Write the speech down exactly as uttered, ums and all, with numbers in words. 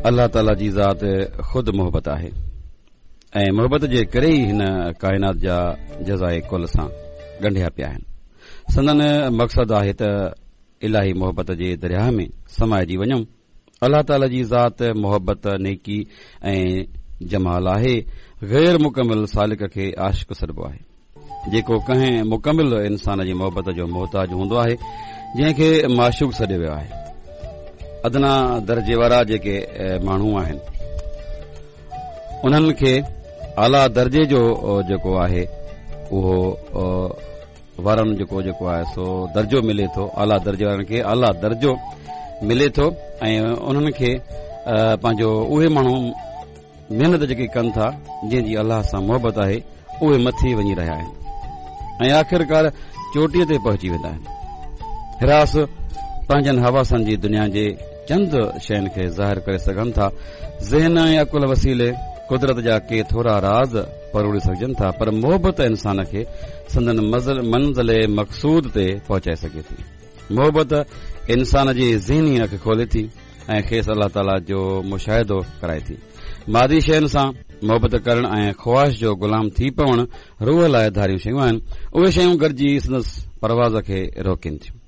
الله تعاليٰ جي ذات خود محبت آهي ۽ محبت جي ڪري ئي هن ڪائنات جا جزائي ڪل سان ڳنڍيا پيا آهن. سندن مقصد آهي ته الاهي محبت جي درياهه ۾ سمائجي وڃون. الله تعاليٰ جي ذات محبت، نيڪي ۽ جمال آهي. غير مڪمل سالڪ کي عاشق سڏبو آهي، جيڪو ڪنهن مڪمل انسان جي محبت جو محتاج هوندو آهي، جنهن کي معشوق سڏيو ويو آهي. ادنيٰ درجي وارا جيڪي ماڻهو آهن، انهن کي اعليٰ درجي جو جيڪو آهي اهو وارن جيڪو جيڪو آهي سو درجو ملي ٿو. اعليٰ درجي وارن کي اعليٰ درجو ملي ٿو ۽ انهن کي پنهنجو اهي ماڻهو محنت جيڪي ڪن ٿا، جنهن جي الله سان محبت آهي، اهي مٿي وڃي رهيا آهن ۽ آخرڪار چوٽيء تي پهچي ويندا آهن. حراس پنهنجن حواسن جي دنيا جي چند شين کي ظاهر ڪري سگهن ٿا. ذهن ۽ عقل وسيلي قدرت جا ڪي ٿورا راز پروڙي سگهجن ٿا، پر محبت انسان کي سندن منزل مقصود تي پهچائي سگهي ٿي. محبت انسان جي ذهني اک کولي ٿي ۽ کيس الله تعاليٰ جو مشاهدو ڪرائي ٿي. مادي شين سان محبت ڪرڻ ۽ خواهش جو غلام ٿي پوڻ روح لاء ڌاريون شيون آهن. اهي شيون گڏجي سندس پرواز کي روڪين ٿيون.